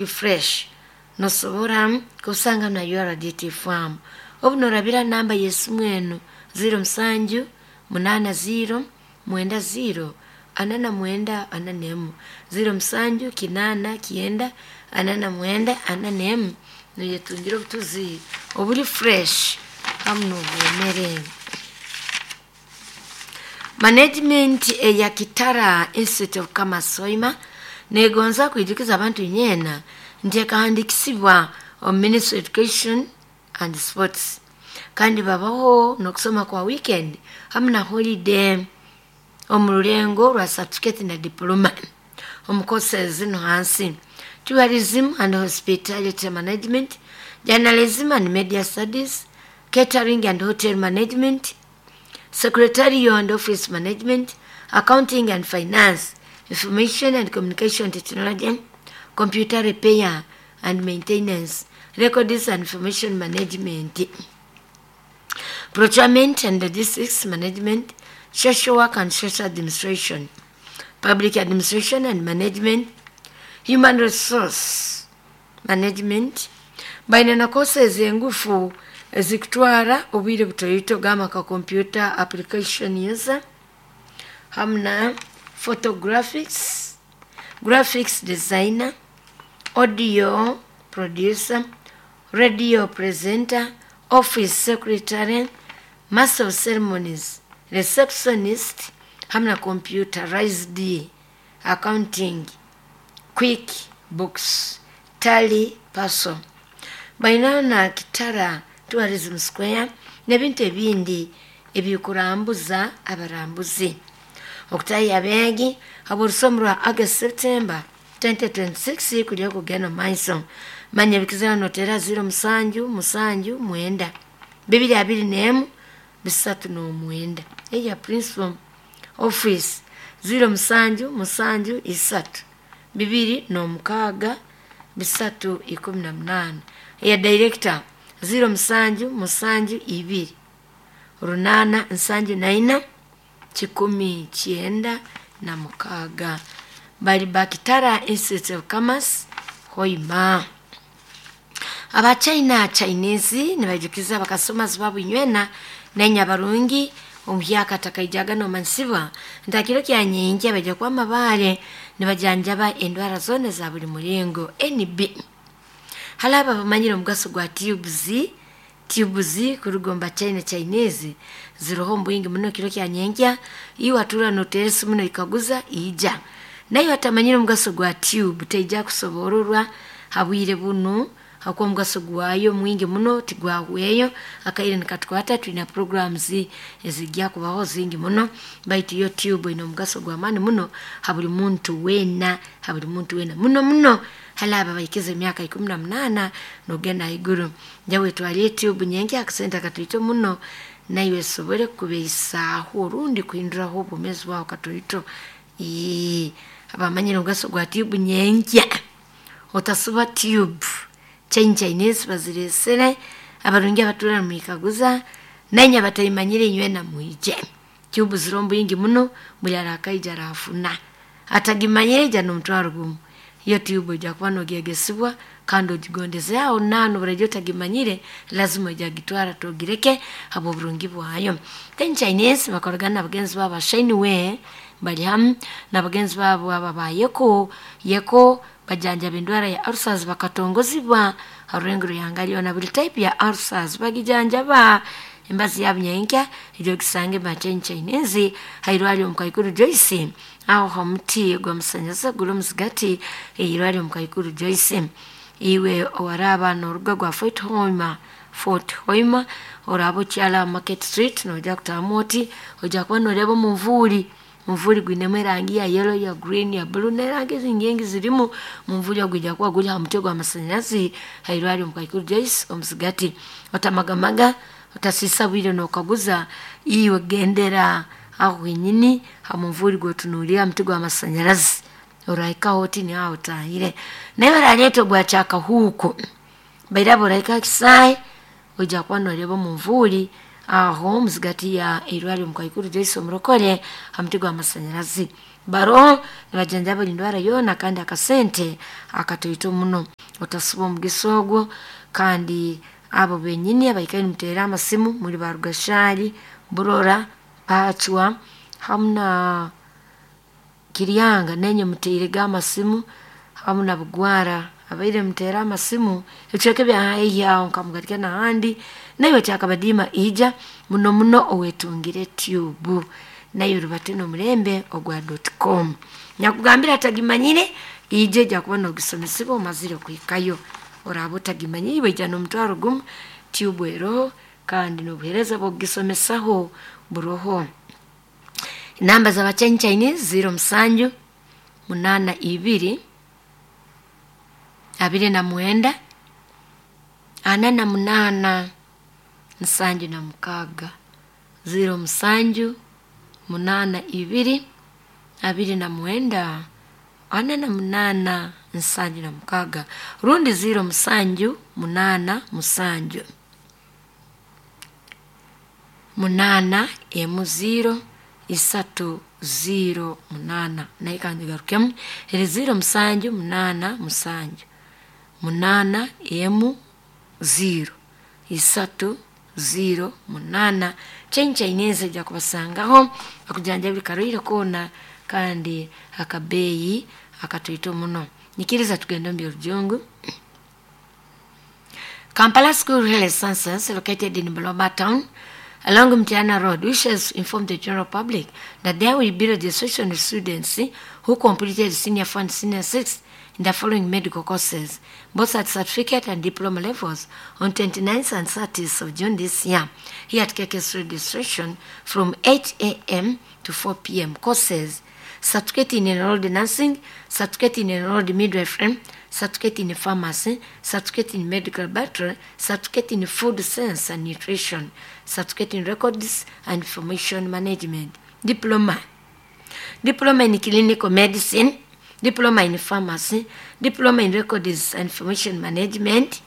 Fresh nosobora kusanga na URDT farm obu norabira namba y'esimu enu 07 80 90 49 41 07 8 9 49 41 noyetungira obutuzi obuli fresh hamu n'obwomere. Management eya Kitara Institute of Commerce Hoima negonza kwijukiza abantu nyena nti ekahandikisibwa omu Ministry of Education and Sports, kandi babaho n'okusoma kwa weekend hamu na holiday omu rulengo rwa certificate na diploma omu courses zinu hansi: tourism and hospitality management, journalism and media studies, catering and hotel management, secretarial and office management, accounting and finance, information and communication technology, computer repair and maintenance, records and information management, procurement and logistics management, social work and social administration, public administration and management, human resource management. Baina na courses engufu ezikutwara obwire butoito gamba nka computer application user hamu na photographics, graphics designer, audio producer, radio presenter, office secretary, master of ceremonies, receptionist hamu na computerized accounting, quick books, tally parcel. Baina na Kitara Tourism Square n'ebintu ebindi ebikurambuza abarambuzi. Okutaaha abeegi habw'orusomo rwa August September 2026 kuli okugenda omu maiso. Manya ebikizira noteera 07 7 9 221 39 eya principal office 07 7 3 2 6 318, eya director 07 7 2 8 74 196. Bali ba Kitara Institute of Commerce Hoima. Abachina Chinese nibaijukiza abakasomazi babu inywena nenya barungi omuhyaka takaijaga nomansibwa ntakiro kya nyingi abaija kuba amabare nibajanjaba endwara zona za buli mulingo NB. Hali abo abamanyire omugaso gwa tubes, tubes kuruga omu bachina Chinese ziroho omu bwingi muno kiro kya nyenkya, iwe atuura noteera esimu noikaguza ija. Naiwe atamanyire omugaso gwa tube taija kusobororwa ha bwire bunu habwokuba omugaso gwayo mwingi muno tigwahweyo. Akaire nikatukwata twina programs ezijja kubaho zingi muno, baitu yo tube ine omugaso gw'amaani muno ha buli muntu weena, ha buli muntu weena muno muno hali abo abahikize emyaka 18 n'ogenda haiguru. Nyowe twalire tube nyenkya akasente akatoito muno naiwe esobole kukubeisaaho rundi kuhinduraho obwomeezi bwawe katoito. Abamanyire omugaso gwa tube nyenkya otasuba tube. Chain Chinese bazireesere abarungi abatuura nimwikaguza nainywe abataimanyire inywena mwije. Tube ziroho omu bwingi muno buli arakaija arafuna, atagimanyire ija n'omutwaro gumu. Iyo tube oija kuba nogyegesibwa kandi ogigondeze aho naaho n'obu otagimanyire lazima oija kugitwara togireke habw'oburungi bwayo. Then Chinese bakoragana na bagenzi baabo aba Shineway bali hamu na bagenzi baabo abo aba Yeko, Yeko bajanjaba endwara ya ulcers bakatongozibwa ha rulengo rw'ihanga lyona buli type ya ulcers bagijanjaba. Embazi yaabo nyenkya ija ogisange ba Chain Chinese hairwaryo omu Kaikuru Joyce aho ha muti gw'amasanyarazi guri omuzigati eirwaryo omu Kaikuru Joyce. Iwe owaraaba n'oruga gwa Fort Hoima, Fort Hoima oraaba okyala Market Street noija kutaahamu oti oija kuba noreeba omunvuuri, omunvuuri gwinemu erangi ya yellow, ya green, ya blue n'erangi ezindi nyingi zirimu. Omunvuuri ogu gwija kuba guri ha muti ogw'amasanyarazi hairwaryo omu Kaikuru Joyce omuzigati. Otamagamaga, otasiisa bwire nokaguza, iwe gendera aho wenyini ha munvuuri gw'otunuulire ha muti gw'amasanyarazi orahikaho oti niho aho otaahire. Naiwe oraleeta ogwa kyakahuuku, bairaba orahika ha kisaayi oija kuba noreeba omunvuuri aho muzigati ya eirwaryo omu Kaikuru Joyce omurokore ha muti gw'amasanyarazi. Baroho nibajanjaba buli ndwara yoona kandi akasente akatoito muno. Otasiba omugisa ogwo. Kandi abo benyini abaikaire nimuteera amasimu muli ba Rugashari, Burora, Pachwa hamu na Kiryanga, nainywe muteirege amasimu, hamu na Bugwara abaire muteera amasimu ebicweka ebya haihi aho nka Mugarika n'ahandi. Naiwe Kyakabadiima ija muno muno owetungire tube, naiwe rubate n'omulembe ogwa .com. Nyakugambira atagimanyire, ija ejja kuba nogisomesebwa omazire kuhikayo. Oraaba otagimanyire, iwe ija n'omutwaro gumu, tube eroho kandi n'obuheereza bw'okugisomesaho buroho. Namba z'aba Chinese 07 82 29 48 76, 07 82 29 48 76, rundi 07 87 8 0 3 0 8. Naye kangigarukemu, eri 07 87 8 0 3 0 8. Chain Chinese ejja kubasangaho akujanjaba buli karwaire koona kandi akabeeyi akatoito muno. Nyikiriza tugende omu by'orujungu. Kampala School Health Sciences, located in Buloba Town along Mtiana Road, wishes to inform the general public that there will be registration of students who completed Senior 4 and Senior 6 in the following medical courses, both at certificate and diploma levels, on 29th and 30th of June this year, here at KKS registration from 8 a.m. to 4 p.m. Courses: certificate in enrolled nursing, certificate in enrolled midwifery, certificate in pharmacy, certificate in medical laboratory, certificate in food science and nutrition, certificate in records and information management, diploma, diploma in clinical medicine, diploma in pharmacy, diploma in records and information management,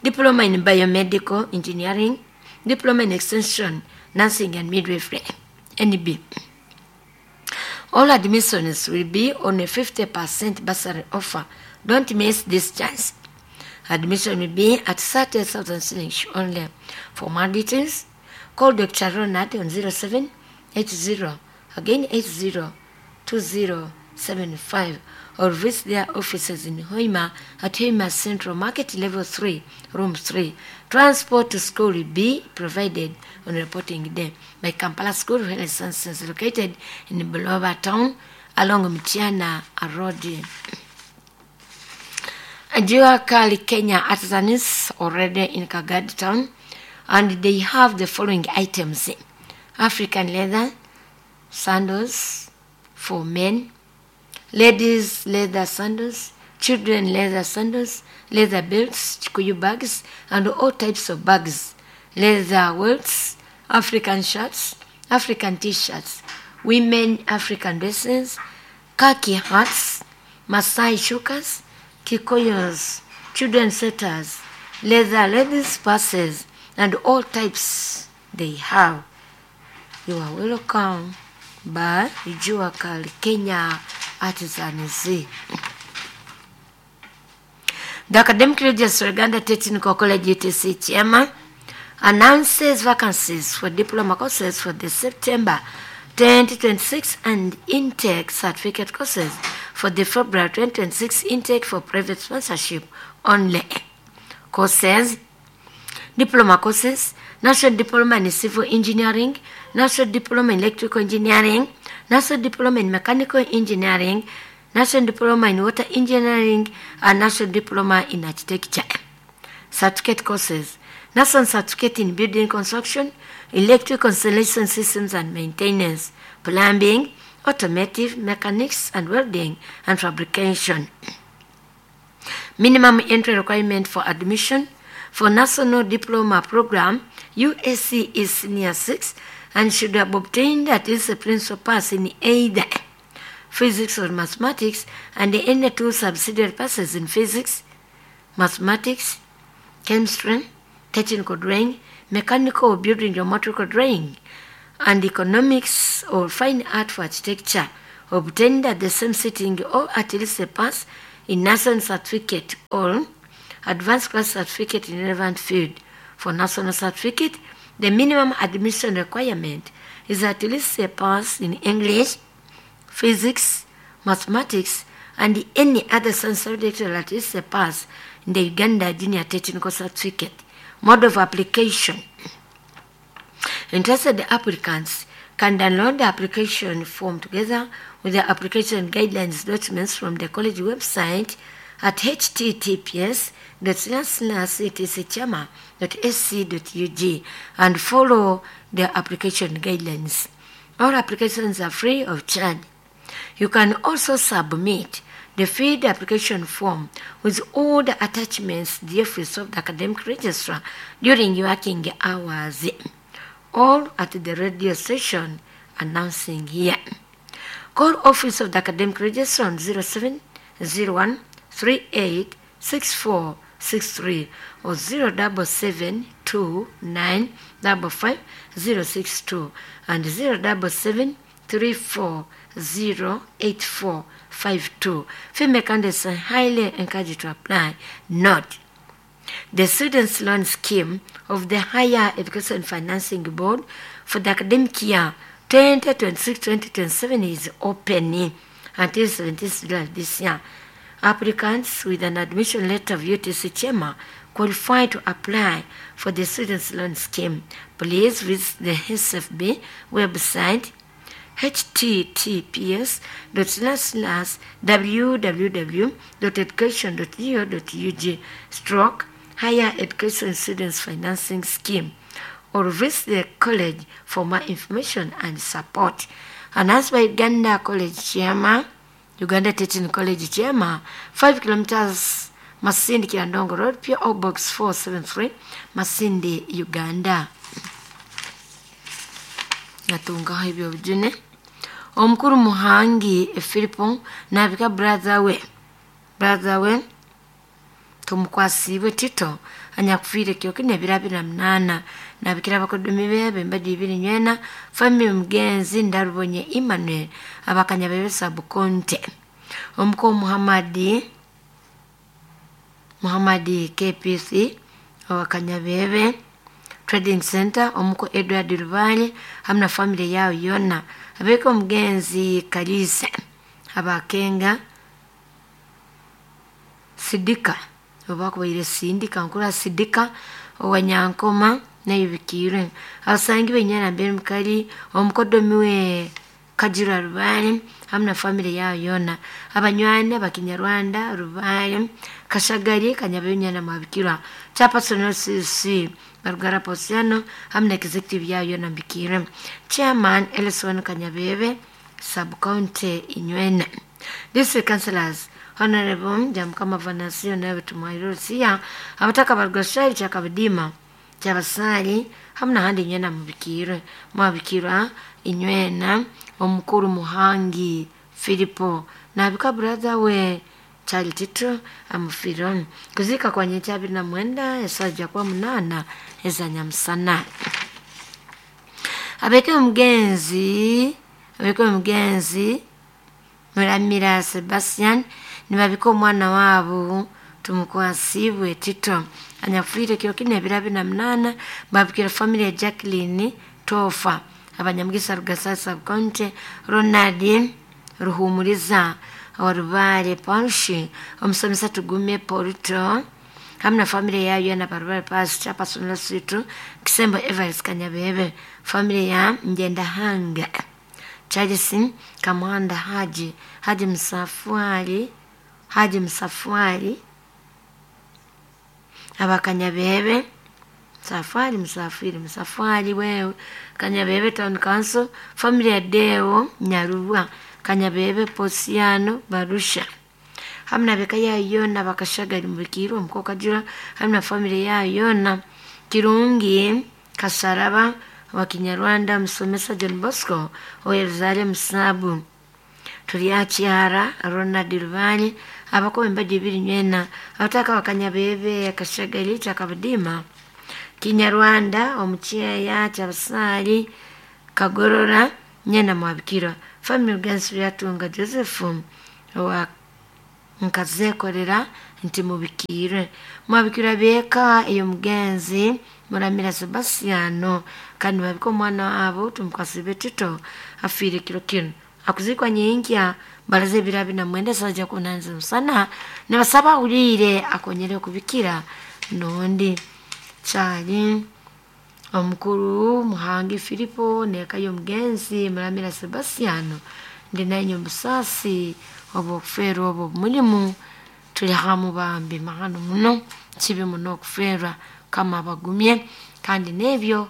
diploma in biomedical engineering, diploma in extension nursing and midwifery, NB. All admissions will be on a 50% bursary offer. Don't miss this chance. Admission will be at 30,000 shillings only. For more details, call Dr. Ronald on 07 80, again 80 2075, or visit their offices in Hoima at Hoima Central Market, Level 3, Room 3. Transport to school will be provided on reporting day by Kampala School of Health Sciences, located in Buloba Town along Mtiana Road. Jua Kali Kenya artisans already in Kagadi Town, and they have the following items: African leather sandals for men, ladies leather sandals, children leather sandals, leather belts, kikuyu bags, and all types of bags, leather welts, African shirts, African t-shirts, women African dresses, khaki hats, Maasai shukas, Kikuyus, children sweaters, leather ladies purses, and all types they have. You are welcome by Jua Kali Kenya Artisans. The Academic Regents for Uganda Technical College UTC chairman announces vacancies for diploma courses for the September 2026 and intake certificate courses for the February 2026 intake for private sponsorship only. Courses: diploma courses, National Diploma in Civil Engineering, National Diploma in Electrical Engineering, National Diploma in Mechanical Engineering, National Diploma in Water Engineering, and National Diploma in Architecture. Certificate courses: National Certificate in Building Construction, Electrical Installation Systems and Maintenance, Plumbing, Automotive Mechanics and Welding and Fabrication. Minimum entry requirement for admission for National Diploma Program, USC, is Senior 6 and should have obtained at least a principal pass in either physics or mathematics and any two subsidiary passes in physics, mathematics, chemistry, technical drawing, mechanical or building geometrical drawing, and economics or fine art for architecture, obtained at the same sitting or at least a pass in national certificate or advanced class certificate in relevant field. For national certificate, the minimum admission requirement is at least a pass in English, physics, mathematics, and any other science subject or at least a pass in the Uganda Junior Technical Certificate. Mode of application. Interested applicants can download the application form together with the application guidelines documents from the college website at https://utcchama.sc.ug and follow the application guidelines. All applications are free of charge. You can also submit the filled application form with all the attachments to the office of the academic registrar during working hours, all at the radio station announcing here. Call office of the academic registrar on 0701 38 6463 or 077 29 55 062 and 077 34 08452. Female candidates are highly encouraged to apply. Note, the Students' Loan Scheme of the Higher Education Financing Board for the academic year 2026-2027 is open until 17th July this year. Applicants with an admission letter of UTC Chema qualify to apply for the Students' Loan Scheme. Please visit the SFB website https www.education.go.ug stroke higher education students financing scheme or visit the college for more information and support. Announced by Uganda College Chairman, Uganda Teaching College Chairman, 5 kilometers Masindi Kiandongo Road, PO Box 473, Masindi, Uganda. Natungaho ebyobujune. Omukuru Muhangi Filipo nabika brother we tumukwasiibwe Tito anyakufiire kyokine ebiro 28 nabikira abakodomi bebe embaju ibiri nywena family mugenzi Ndarubonye Emmanuel abakanya bebe sabukonte omukuru Muhammadi KPC abakanya bebe Trading Center omuko Edward Rubale hamwe na family yao yona abeka omugenzi Kalisa abakenga Sidika obakubaire Sindika nkura Sidika owanyankoma nayibikirwe abasangi benyana mbere mukali omukodomi we Kajira Rubale hamwe na family yao yona abanywani abakinyarwanda Rubale Kashagari Kanyabenyana mwabikirwa Chairperson CC Barugara Posiano hamwe na executive yayo na mbikire Chairman Ellison Kanyabebe Sub County Inywena District Councillors Honorable Jamkama Vanasio nawe tumwairusia abataka barugashari chakabidima kyabasali hamwe na handi inywena mubikirwe mwabikirwa inywena omukuru Muhangi Filipo nabika brother we Charlie Tito amufironi kuzika kwa nyecha 29 esaja kwa 8 ezanyamusana. Abeke omugenzi Muramira Sebastian nibabika omwana wabo tumukwasibwe Tito anyafuire kiro kine ebiro 28 babikira family ya Jacqueline Tofa abanyamugisa Rugasasa Sub-County Ronald Ruhumuriza Orubale Panshi omusomesa Tugume Porto hamwe na family yayo na Barubale Pass Chairperson Situ Kisembo Evans Kanyabebe family ya Ngendahanga Charles Kamwanda Haji Msafwali abakanyabebe Safari Msafiri Msafwali wewe Kanyabebe Town Council family ya Deo Nyarubwa Kanyabebe Posiano Barusha hamwe na beka yayo na bakashagari mubikirwa omukoka jura hamwe na family yayo na Kirungi Kasaraba wa Kinyarwanda Musomesa John Bosco Oyeruzale Musabu Tuliachiara Ronald Rubani abakobe embaju ibiri nywena abataka bakanyabebe Kashagari chakabudima Kinyarwanda omucheya kyabasali Kagorora Nyena mwabikirwa. Family Gensi Lyatunga Joseph owa nkazeekorera nti mubikiirwe. Mwabikirwa beeka ey'omugenzi Muramira Sebastiano, kandi babika omwana waabo Tumukwasibe Tito afiire kiro kinu. Akuziikwa nyenkya baraza ebiro 29 saaha kunanza musana, nibasaba ahuliire akonyere okubikira nondi. Kyali omukuru Muhangi Filipo n'eka y'omugenzi Muramira Sebastiano, ndi nainywe omubusaasi obw'okufeerwa obwo omulimu tuli hamu bambi mahano muno, kibi muno okufeerwa, Mukama abagumye. Kandi n'ebyo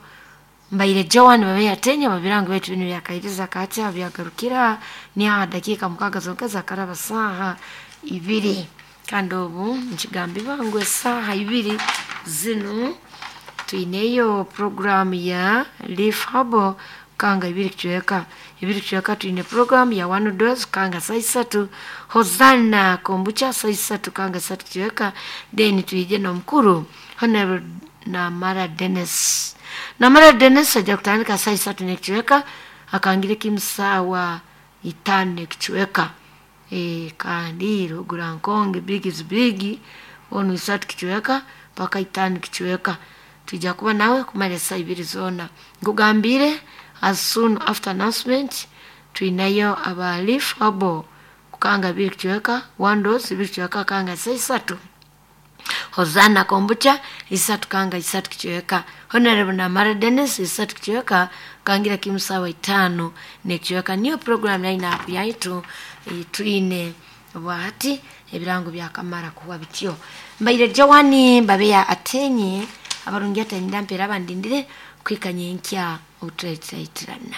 mbaire Joan babe atenya babirango baitu binu byakairiza kati byagarukira ni aha dakiika 6 zonka zakaraba saaha 2. Kandi obu nkigambibwa ngu esaaha 2 zinu twineyo programu ya Leaf Hub kanga 2 kucweka 2 kucweka, twine programu ya One Dose kanga saa 3, Hosanna kombucha saa 3 kanga 3 kucweka, then twije n'omukuru Honorable Namara Dennis. Namara Dennis ajja kutandika saa 3 n'ekicweka akangire kimu saawa 5 n'ekicweka. Kandi Rugura Nkonge big is big onu 3 kicweka paka 5 kicweka. Twijja kuba nawe kumara esaa 2 zoona. Nkugambire as soon after announcement twinayo aba Leaf Hub kukanga 2 kicweka, One Dose 2 kicweka kanga saa 3. Hosanna kombucha 3 kanga 3 kicweka. Honorable Namara Dennis 3 kicweka kangira kimu sawa 5 n'ekicweka. Niyo program line up yaitu twine bwahati ebirango byakamara kuwa bityo. Mbaire Joan babeya atenye abarungi atanyira mpera abandindire kwikanya enkya obuturaitirana.